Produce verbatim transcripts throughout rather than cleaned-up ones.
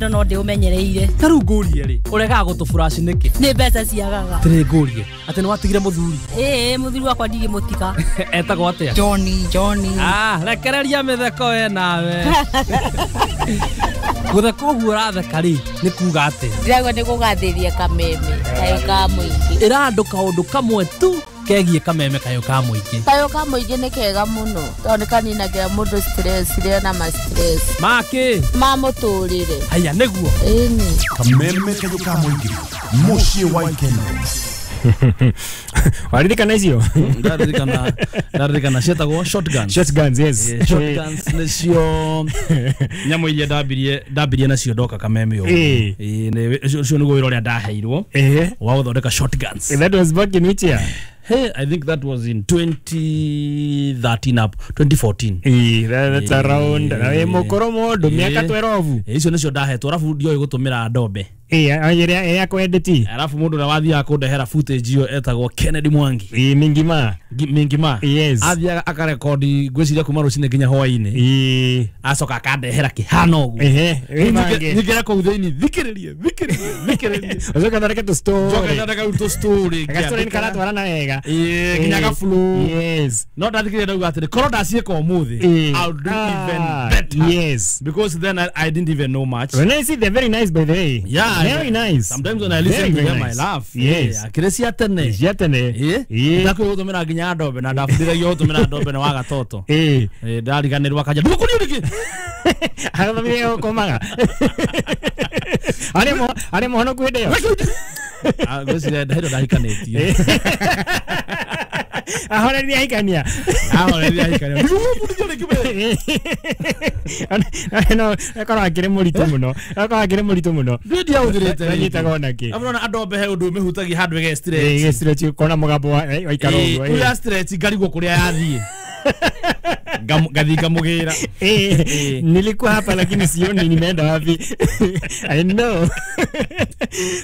Wendo no ndĩũmenyereire. Ta rĩu ngũrie rĩ, ũregaga gũtũburaci nĩkĩ? Nĩ mbeca ciagaga. Atĩrĩ ngũrie, atĩ nĩ watigire mũthuri? Ĩĩ, mũthuri wakwa ndigĩmũtiga. Etagwo atĩa? Johnny, Johnny. Ah, rekereria mĩtheko we nawe. Gũtheka ũguo ũratheka rĩ, nĩ kuga atĩa? Ndĩraigua nĩ kũgathĩria Kameme Kayũ ka Mũingĩ. Ĩra andũ kaũndũ kamwe tu kegiĩ Kameme Kayũ ka Mũingĩ. Kayũ ka Mũingĩ nĩ kega mũno tondũ nĩ kaninagĩra mũndũ stress rĩrĩa na ma stress. Makĩ? Ma mũtũrĩre. Haya nĩguo. Ĩni. Kameme Kayũ ka Mũingĩ, mũciĩ wa ikeno. Waririkana icio? Ndaririkana, ndaririkana cietagwo shotguns. Shotguns, yes. Eh, shotguns nĩcio nyamũ iria ndambirie, ndambirie nacio ndoka Kameme ũguo. Eh. Eh, nĩ ũcio nĩguo wĩra ũrĩa ndaheirwo Eh. wa gũthondeka shotguns. That was back in which year? Hey, I think that was in twenty thirteen up twenty fourteen. Eh, that's around. Eh. Mukoro mũndũ mĩaka Eh. twelve. Eh, icio nĩcio ndahetwo arabu ndioĩ gũtũmĩra ndombe. Eh, ĩrĩa ya kwendeti. Arabu mũndũ ũrĩa wathiaga kũndehera footage ĩyo etagwo Kennedy Mwangi. Eh, Mingima. Mingima. Yes. Athiaga akarekodi ngwĩciria kuma rũcinĩ nginya hwaĩ-inĩ. Eh. Acoka akandehera kĩhana ũguo. Ehe, Nyingĩre nyingĩre kũu thĩinĩ, thikĩrĩrie, thikĩrĩrie, thikĩrĩrie. Ũcoke ũthondeke tũ story. Njoke thondeke rĩu tũ story. Gastory nĩ karatwarana wega. Eh, nginya Eh, gablu. Yes. No ndathikĩrĩria ndauga atĩrĩ, korwo ndaciĩka ũmũthĩ, Eh. I'll do even Ah, better. Yes. Because then I, I didn't even know much. When I see they're very nice, by the way. Yeah, Very nice. Sometimes when I listen Very, to very them, nice. I laugh. Yes. Yeah, akĩrĩ cia tene. Cia tene. Eh? Eh. Ndakwĩ gũtũmĩra nginya ndombe na ndabundithagio gũtũmĩra ndombe na wa gatoto. Eh. Eh, ndariganĩrwo akanja ndũgũkũrio rĩngĩ. Agathomire gũkomaga. Arĩ mo arĩ mũhonoku hĩndĩ ĩyo. Ah, ngwĩciria hĩndĩ ĩyo ndahikanĩtie. Ahoreria ahikania. Ahoreria ahikania. Ndũgũbundithio rĩngĩ we. No, akorwo akĩrĩ mũritũ mũno. Akorwo akĩrĩ mũritũ mũno. Niĩ ndiahũthĩrĩte rĩngĩ. Ndanyitaga ona kĩ. Arabu nona andũ he ũndũ ũmĩhutagia handũ ĩge stretch. Ĩge stretch kona mũgambo wa waikara ũguo. Ĩĩ, ya stretch ngarigwo kũrĩa yathiĩ. Ngathi ngamũgĩra. Eh, nilikuwa hapa lakini sioni nimeenda wapi. I know.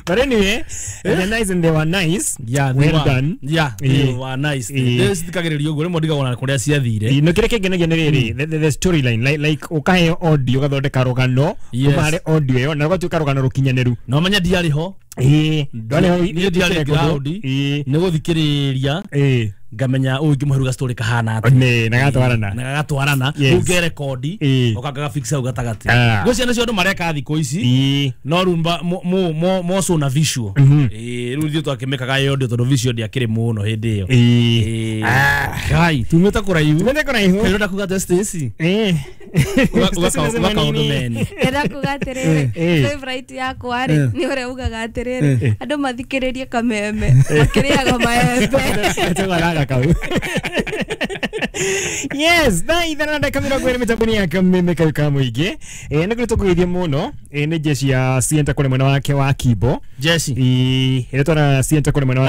But anyway, they're nice and they were nice. Yeah, they well were. done. Yeah, they were nice. Eh. Thikagĩrĩrio ũguo rĩmwe ndigagwo na kũrĩa ciathire. No kĩrĩa kĩngenagia nĩ rĩrĩ, the, the, the storyline like like ũkaheo audio ũgathondeka rũgano Yes. kuma harĩ audio ĩyo na rũgatuĩka rũgano rũkinyanĩru. No menye ndiarĩ ho. Ĩĩ, ndwarĩ ho Niĩ ndiarĩ ground. Ĩĩ. Nĩ gũthikĩrĩria. Ĩĩ. Ngamenya ũyũ ingĩmũhe story kahana atĩa. Nĩ, na gatwarana. Na gagatwarana. Yes. Rĩu ngerekondi, Ĩĩ. ũka ngagafix hau gatagatĩ. Ah. Ngwĩciria nĩcio andũ mareka thikũ ici. Ĩĩ. No rĩu mba- mo- mo- mo- more so na visual. Mhm. Ĩĩ, rĩu ithuĩ twakĩmĩkaga ĩ audio tondũ visual ndĩakĩrĩ mũno hĩndĩ ĩyo. Ĩĩ. Ĩĩ. Kai, tumĩte kũraihu. Tumĩte kũraihu. Ũrenda kuga atĩa Stacy? Ĩĩ. Uga- Stacy uga- unasema uga kaũndũ nini? meni. Ndĩrenda kuga atĩrĩrĩ, Eh. favorite yakwa rĩ, nĩ ũrĩa ugaga atĩrĩrĩ, andũ mathikĩrĩrie Kameme makĩrĩaga maembe. Tũgaraga kau. Yes, thaa ithano na ndagĩka mĩrongo ĩrĩ mĩtambo-inĩ ya Kameme Kayũ ka Mũingĩ. Eh, nĩ tũkũgeithia mũno. Eh, nĩ jeshi ya Sienta kũrĩ mwena wake wa Kimbo. Jeshi. Ĩĩ, ĩrĩa twara Sienta kũrĩ mwena wa